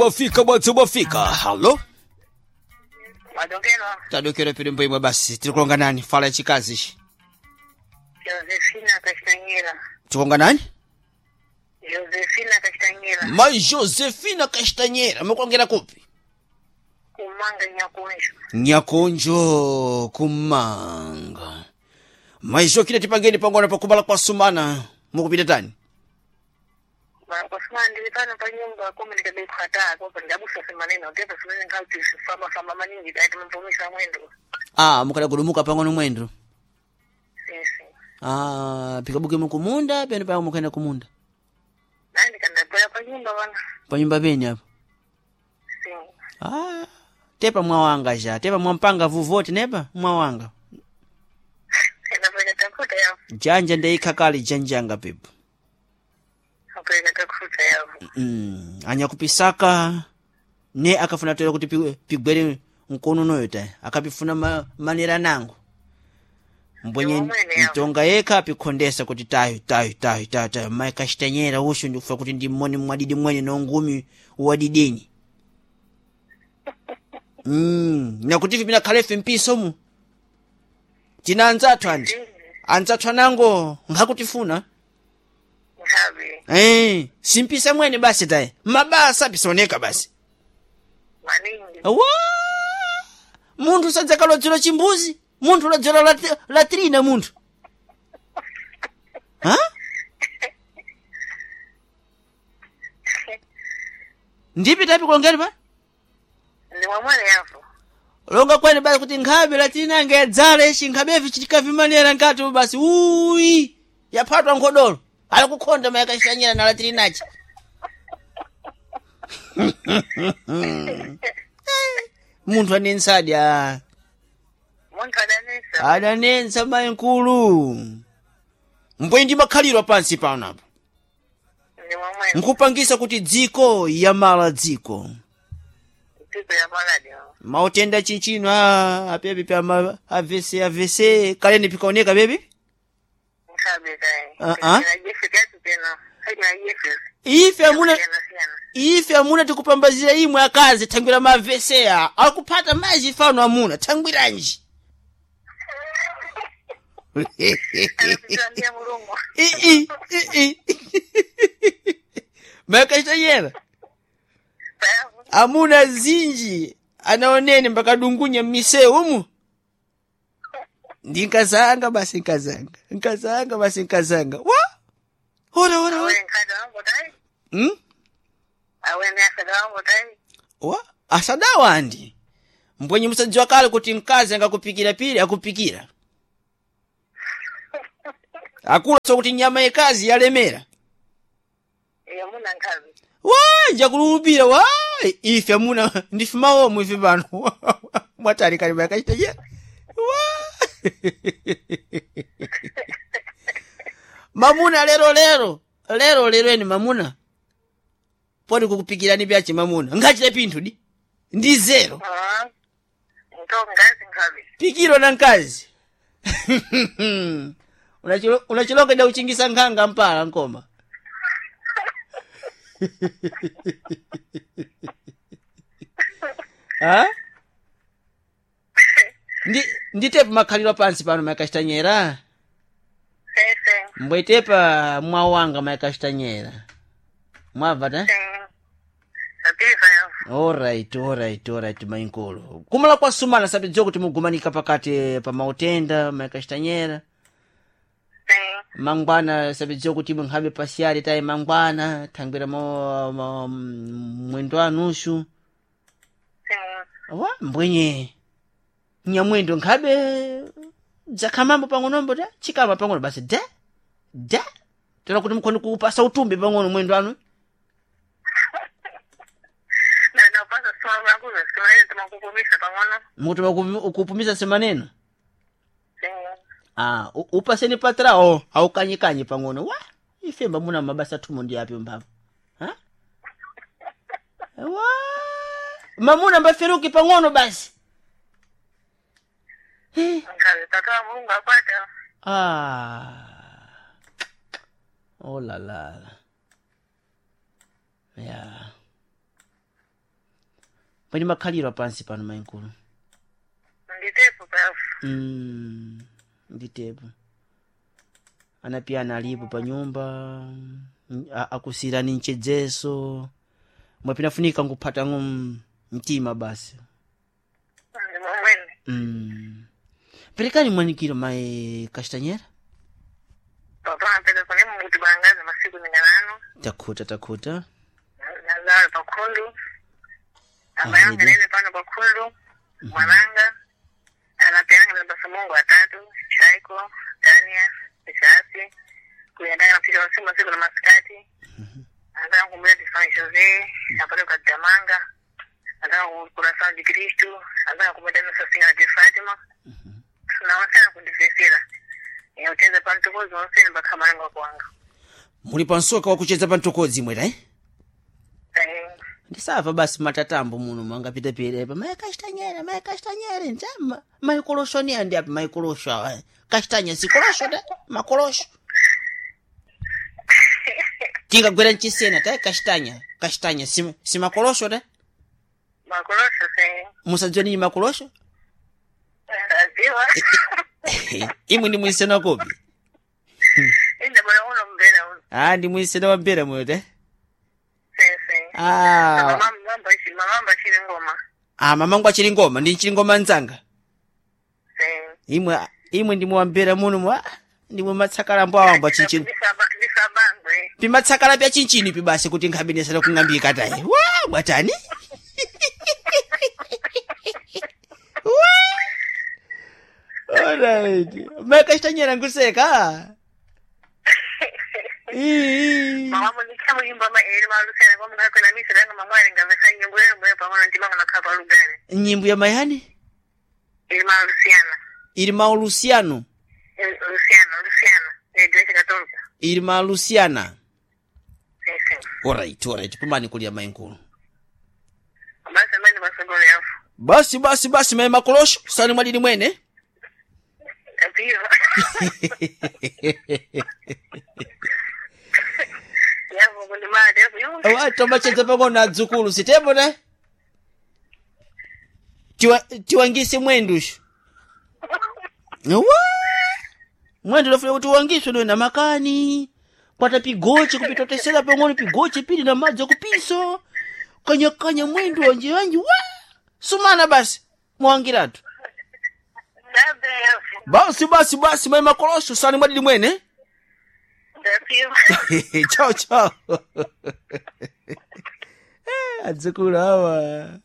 Bwafika bwathu bwafika. Halo, Madokelo, tadokera pili mbo basi tirikulonga nani fala ya chikazi ichi Josefina Castanheira. tikonga nani? Josefina Castanheira. Mai Josefina Castanheira, mukulongera kupi? Kumanga Nyakunjo. Nyakonjo kumanga. Mai Jokina tipangeni pangona pakubala kwa sumana mukupita tani? Bakosema ndili pano pa nyumba kome ndikabekhataa kopa ndabusa semaneno tepa simene nkauti fama fama maningi dati mpumisa mwendo. Ah, mukadagudumuka pang'ono mwendo. Sisi. Ah, pikabuke mukumunda pene pa mukaenda kumunda. Nandi kandagwera pa nyumba bana. Pa nyumba peni apo. Si. Ah, tepa mwawanga ja, tepa mwampanga vuvote nepa mwawanga. Ndapeka takuta yapo. Janja ndeikakali janjanga pepo. Apeka takuta yapo. Anyakupisaka ne akafuna toera kuti pigwere mkono unoyo ta akapifuna manera nango mbwenye Ndiwomwene yawo. mtonga yekha apikhondesa kuti tayo tayo tayo tayo tayo mayi kachitanyera usho ndikufa kuti ndi mmoni mwadidi mwene nongumi wadidini nakuti ife pinakhalefe mpisomu tina anzathu andi anzathu anango nkhakutifuna. Nkhabe. Simpisa mwene basi taye mabasa apisaoneka basi. Maningi. Wa munthu sadzakalodzera chimbuzi munthu lodzera latrina munthu ha ndipi tapi kulongeni pa Ndi mwamwene yapo. longa kwene basi kuti nkhabe latrina anga yadzala ichi nkhabevi chitikavimanera nkati basi uyi yaphatwa nkhodolo ali kukhonda mayakashanyira na latrinachi. Munthu anensadi a Munthu adanesa. Adanensa mayi nkulu mbwe ndi makhaliro pansi pano apa. Ndi mwamwene. Nkupangisa kuti dziko yamala dziko Dziko ya maladi. mautenda chinchino a apepi pa avc avc kaleni pikaoneka bebi. Nkhabe kai. Ah, ah. Jefe tena. Haina jefe. Ife amuna Siyana siyana. ife amuna tikupambazira imwe akazi thangwira mavese a akuphata maji fano amuna thangwiranji. Anapita Mulungu. Ii ii makachitanyera amuna zinji anaoneni mpakadungunya mmisewu umu ndi nkazanga basi nkazanga nkazanga basi nkazanga wa ora ora ora. Awe nkhada wangu tai. Awe ni asada wangu tai. Wa asadawa andi mbwenye musadziwa kale kuti mkazi angakupikira pili akupikira akula so kuti nyama yekazi yalemera. Iyo muna nkhabe. Wa njakulupira wa ife amuna ndife mawomo ife pano mwatali kali makachita wa mamuna lero lero lero lero eni mamuna poti kukupikirani pyache mamuna ngachite pinthu di ndi zero. Ah. Nto ngazi nkhabe. Pikiro na mkazi unachilonga da uchingisa nkhanga mpala nkoma ha ndi nditepa makhaliro pansi pano makachitanyera. Sese. Mbwetepa mwawanga makachitanyera mwabva ta. Sapifa yapo. Alright, alright, alright, mainkulu kumala kwa sumana sabidziwa kuti mugumanika pakati pa mautenda makachitanyera. Mangwana sabidziwa kuti munkhabe pasiyali tayi mangwana thangwira mwendo anushu wa mbwenye nyamwendo nkhabe dzakhamambo pang'onombo ta chikama pang'ono basi da da tera kuti mukhoni kupasa utumbi pang'ono mwendo anu. Na napasa sima vangu simanene timakupumisa pang'ono. Mukuti kupumisa simaneno. Ah, upaseni patrawo aukanyikanye pang'ono wa ifemba muna mabasa thumo ndi api mphamvu ha wa mamuna mbaferuki pang'ono basi. Nkhabe tata wa Mulungu akwata. Ah. Oh la la. Ya. Pali makhaliro pansi pano mainkulu. Nditepo pafu. Nditepo. Anapiyana alipo pa nyumba, akusirani mchedzeso. Mwapinafunika nguphata mtima basi. Ndi momwene. Perekani mwanikiro mai Kastanyera. Papa apeza kune muti bangaza masiku ninganano. Takhuta takhuta. Nazala pakhundu. Abayanga Ahidi. nene pano pakhundu. Mwananga. Anapiyanga na basamungu atatu. Chaiko, Dania, Ishasi. Kuyandana mapika masiku masiku na masikati. Anataka kumbula Tifani Jose, apate kukatamanga. Anataka kula São de Cristo, anataka kumwenda Nossa Senhora de Fátima. Na wasana kundifesera. Yauteza pantukozi wonsene bakhamalanga kwanga. Muli pansoka wakucheza pantokodzi mwera eh? Eh, Ndisava basi matatambo muno mangapita pirepa mai kastanyera mai kastanyera njama maikolosho ni andi api maikolosho awa kastanya sikolosho da makolosho tingagwera nchisena ta kastanya kastanya si makolosho da makolosho se. musadziwa ninyi makolosho Aziwa. imwe ndi mwisena kopi Inda bora uno mbera uno. ah ndi mwisena wa mbera moyo ta Se se. ah Mamamba ichi mamamba chiri ngoma. ah mamangu achili ngoma ndi nchili ngoma nzanga Se. imwe imwe ndimwe wambera muno mwa ndimwe matsakalambo awambo achinchini Ndisabangwe. pimatsakala pya chinchini pi basi kuti nkhabenesera kung'ambika tayi wa bwatani Alright. Makasitanyera nkuseka. Ii. Mama ndikhamu imba ma eri malusana kwa mwana kwena misa langa mamwali ngavesa nyimbo yenu mwe pamwe ndimanga nakhapa lugare. Nyimbo ya mayani Eri malusiana. ili maulusiano Luciano, Luciano, Igreja Católica. ili malusiana. Sim, sim. Alright, alright. Pumani kulia mainkulu. Basi amene masogolo yafu. Basi basi basi mai makolosho sani mwadini mwene. Apiwa. Yafu kundimate yafu yungi. Wa tomachedza pang'ono adzukulu sitepo ne tiwangise mwendushu wa mwendo lofuna kuti uwangiswe dowe na makani kwata pigoche kupitotesera pang'ono pigoche pili na madzi akupiso kanyakanya mwendo wanje wanji wa sumana basi mwangiratu Ndabe yafu. basi basi basi mai makolosho sani mwadili mwene Ndapiwa. chao chao. Adzukulu awa.